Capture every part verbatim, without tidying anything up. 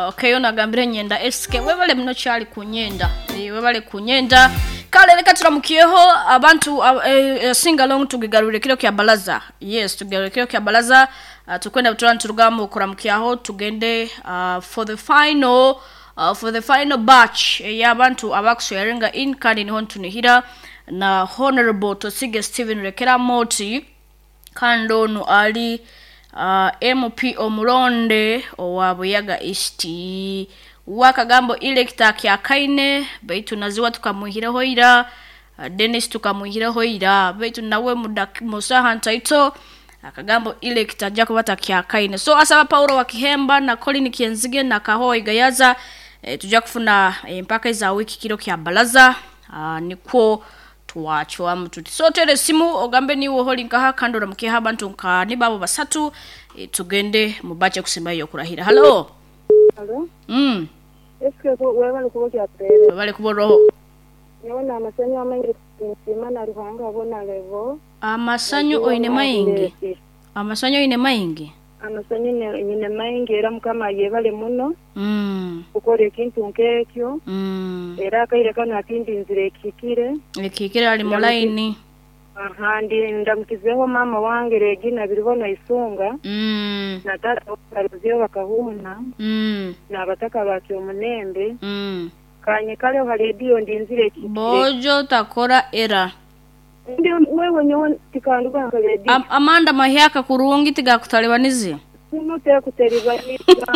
Okay, ono agambire nyenda S K webale muno kyali kunyenda. E, webale kunyenda. Kale reka turamukiyeho abantu uh, eh, sing along tugigarure kiro kya balaza. Yes, tugigarure kiro kya balaza. Uh, tukwenda butura nturugamu kuramukiyaho tugende uh, for the final uh, for the final batch y'abantu abakusharinga in kandi niho ntunihira na Honorable Tosige Steven Rekera Moti kandi ono ali uh, M P Omuronde owa Buyaga East wakagambo electa kya kaine baitu naziwa tukamuhireho ira uh, Dennis tukamuhireho ira baitu nawe musaha ntaito akagambo electa ajja kubata kya kaine. So asaba Paulo wa Kihemba na Colin Kienzige na Kahoi Gayaza e, tujja kufuna e, mpaka za wiki kiro kya balaza uh, nikwo tuwachwa mtuti. So tere simu ogambe ni woholi nkaha kando ramukiha abantu nka ni babo basatu e, tugende mubache kusema hiyo kurahira. Hello. Hello. Mm. Eske webale kubokya pere. Webale kuboroho. Nyona amasanyu amangi nsimana ruhanga abona levo. Amasanyu oine maingi. Amasanyu oine maingi. Amasanyu nyine maingi era mukama yebale muno. Mm. Ukore ekintu nkekyo. Mm. Era akaire kano atindi nzire ekikire. Ekikire ali mulaini. Aha, ndi ndamukizeho mama wange Regina biribona isunga. Mm. Na tata baruzio bakahuna. Mm. Na abataka bakyo omunembe. Mm. Kanye kale hali ndi nzire ekikire. Bojo takora era. Ndi wewe nyowe tikanduka nkaledi. Am, Amanda mahyaka kurungi tigakutalibanizi. Simute kuteribaniza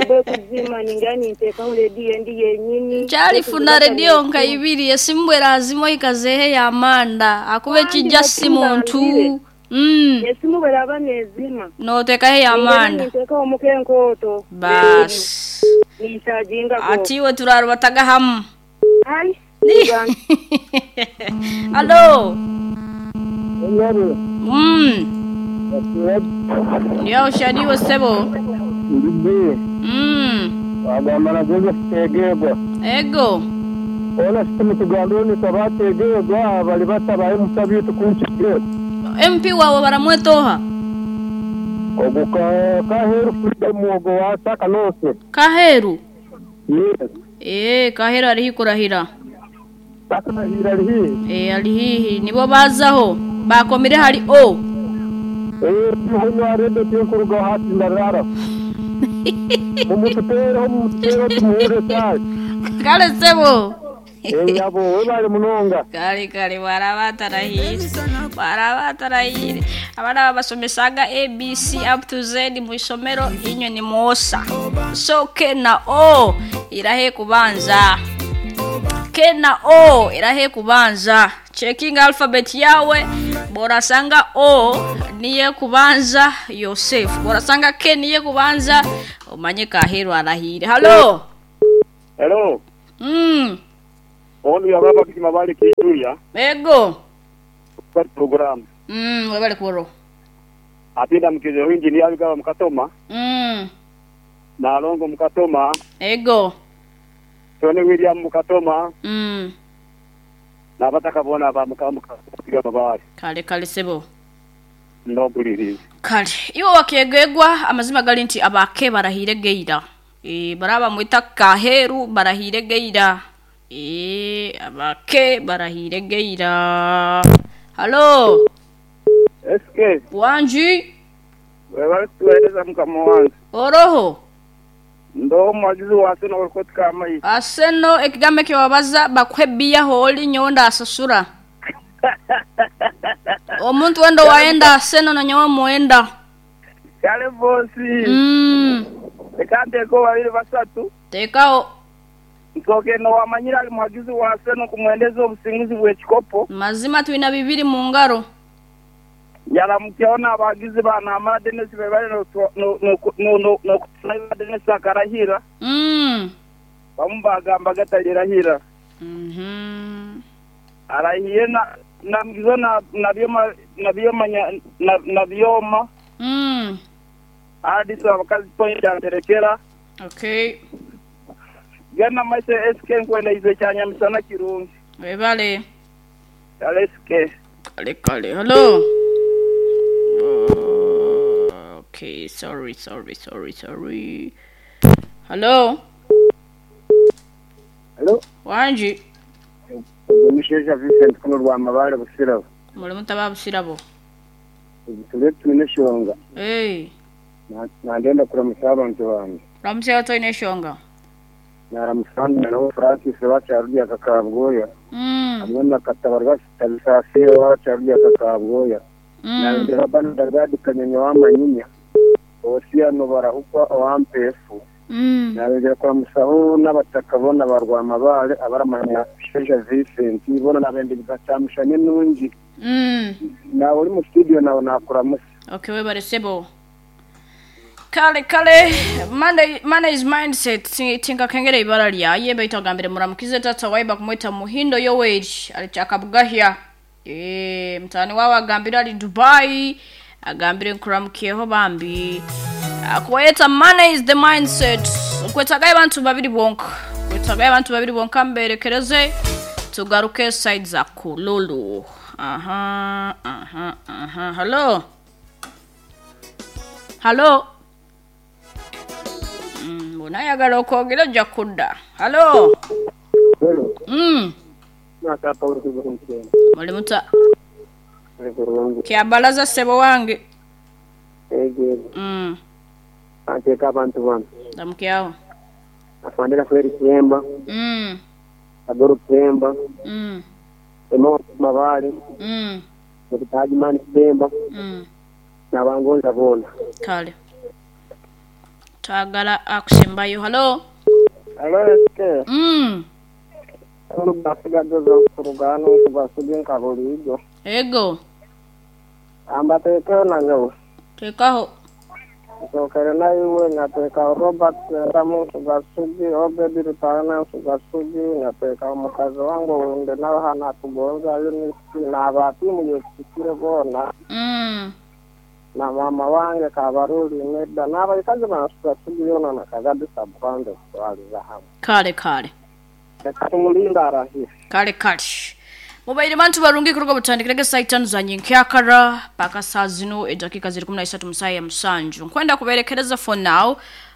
bwe kuzima ningani nteka redio ndi yenyini. Chali funa redio nka ibiri esimbwera azimo ikazehe ya Amanda akube kijja simuntu. Mm. Esimu bwera abanezima. No teka he ya Amanda. Nteka omukenkoto. Bas. Nitajinga ko. Atiwe turarubataga hamu. Ai. Hello. Mm. Yo shadiwe sebo. Ndibe. Mm. Agambana Joseph Tegegwa. Ego. Ona simu tugandoni tabategegwa bali batabaye musabitu kunchige. M P wawe baramwetoha. Oguka kaheru freedom ogo wasaka nose. Kaheru. Yes. Eh, kaheru ari hikurahira. Sakanahira ari. Eh, ari hihi nibo bazaho bakomire hari o. Eh, hunywa redo tinkuruga hati ndarara. Mumutero mumutero tumuhure sai. Kale sebo. Eh, yabo webale munonga. Kale kale warabatarahire. Warabatarahire. Abana babasomesaga A B C up to Z mu isomero inyo ni mosa. So K na O irahe kubanza. K na O irahe kubanza. Checking alphabet yawe borasanga O niye kubanza Yosef. Borasanga K niye kubanza umanye Kaheru arahire. Hello. Hello. Mm. Onu ya baba kima bali kijuya. Ego. Kwa program. Mm, webale kuboro. Apinda mkizo engineer bigawa mukatoma. Mm. Na Alongo mukatoma. Ego. Tony William mukatoma. Mm. Na bataka bona ba mukamuka mabali. Kale kale sebo. Ndobuliriza. Kale iwo wakegegwa amazima gali nti abake barahire geira. E baraba mwita Kaheru barahire geira. E abake barahire geira. Hello. S K. Wanji. Wewe tueleza mkamo wangu. Oroho. Ndo mwagizi wa Aseno walikotika amayi. Aseno ekigambo kyewabaza bakwebbiya holi nyonda asasura. Omuntu wendo waenda Aseno na nyowe muenda. Kale bosi. Mm. Ekante ko babiri basatu. Tekao. Nsoke no wamanyira ali mwagizi wa Aseno kumwendeza obusinguzi bw'ekikopo. Mazima tuina bibiri mu ngaro. Yala mkiona abagizi bana amara Dennis bebale no no no no no kutsaiba Dennis akarahira. Mm. Bamubagamba gatalirahira. Mhm. Arahiye na na mgizo na na byoma na byoma na na byoma. Mm. Hadi abakazi point anterekera. Okay. Gana maise S K nkwenda ize cyanya misana kirungi. Webale. S K. Kale kale. Hello. Okay, sorry, sorry, sorry, sorry. Hello. Hello. Wanji. Omushaija Vincent kuno rwa Mabare Busirabo. Muri mutaba Busirabo. Turi twine shonga. Eh. Nandenda kuramusa abantu bange. Ramusa twine shonga. Naramusana nawe Francis bacyarurya kakabwoya. Mm. Hamwe na Katabarwa Tarisase bacyarurya kakabwoya. Mm. Nandera bana dadikanyanya wamanyinya. Osiano barahukwa owampefu. Mm. Nabegera kuramusaho n'abataka bona barwa Mabare abaramanya Sheja Vincent bona nabende bigacamushanye nungi. Mm. Nawe uri mu studio nawe nakuramusa. Okay, webare sebo. Kale kale Monday Monday is mindset tinga kengere ibara lya yembe itagambire muramukize tata waiba kumwita Muhindo Yoweri alichaka Bugahya. Eh mtani wawe agambira ali Dubai agambire nkuramukiyeho bambi. Akweta money is the mindset. Kwetagaye abantu babiri bonka. Kwetagaye abantu babiri bonka mberekereze tugaruke side za Kululu. Aha aha aha. Hello. Hello. Mm, unayagala okwogera ojja kudda. Hello. Hello. Mm. Naka Paulo kugenda. Muli muta Kurungi. kyabalaza ssebo wange. Ege. Mm. Anteka abantu bano. Ndamukyawo. Afandira kweri Kiyemba, Mm. Agoro Kiyemba, Mm. Emo Mabare, Mm. Mutaji Mani Kiyemba, Mm. n'abangonza bona. Kale. Twagala akusembayo. Hello. Hello S K. Mm. Olugasigadoza kurugano kubasuge nka bulijo. Ego. Ambateekeo nanyowe. Tekaho. Nsokere naiwe nyateeka Robert Sentamu Sugasugi, Obedi Rutana Sugasugi, nyateeka omukazi wange owunde nawe hano atugonza Eunice n'abatiimu yekitikire boona Mm. na mama wange Kabaruli Meda n'abaikazi ba Sugasugi yoona na Kagadi Sabukande kutwaliza hamwe. Kale kale. Reka tumulinda arahire. Kale kale. Mubaire bantu barungi kuruga butandikirege saa itano za nyenkyakara paka saa zino edakika ziri kumi na isatu mu saa ya musanju. Nkwenda kuberekereza for now.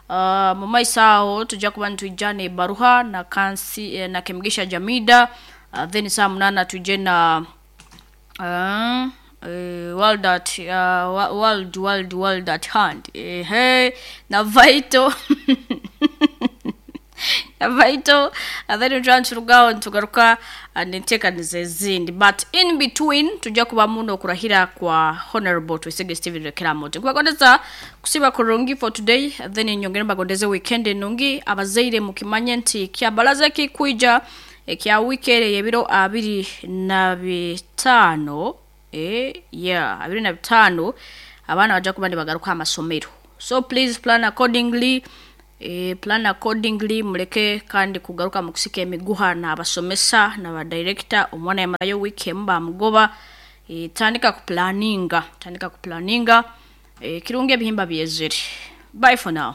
Uh, mu maiso aho tujja kuba nitwijja ne baruha na kansi eh, na Kemigisha Jamida uh, then saa munana tujje na uh, eh, world at uh, world world world at hand ehe na Vital na Vital and then turanturugaho ntugaruka nenteekaniza ezindi but in between tujja kuba muno okurahira kwa Honorable Twesige Steven Rekeramote. Nkubagondeza kusiba kurungi for today then nyongere mbagondeze weekend enungi abazaire mukimanye nti kyabalaza kikwija ekya weekend y'ebiro abiri na bitaano eh yeah abiri na bitaano abaana bajja kuba nibagaruka amasomero so please plan accordingly. E, plan accordingly muleke kandi kugaruka mu kusika emiguha n'abasomesa n'abadirector omwana yamarayo week emu bamugoba e, tandika kuplaninga tandika kuplaninga e, kirungi ebihimba byezere. Bye for now.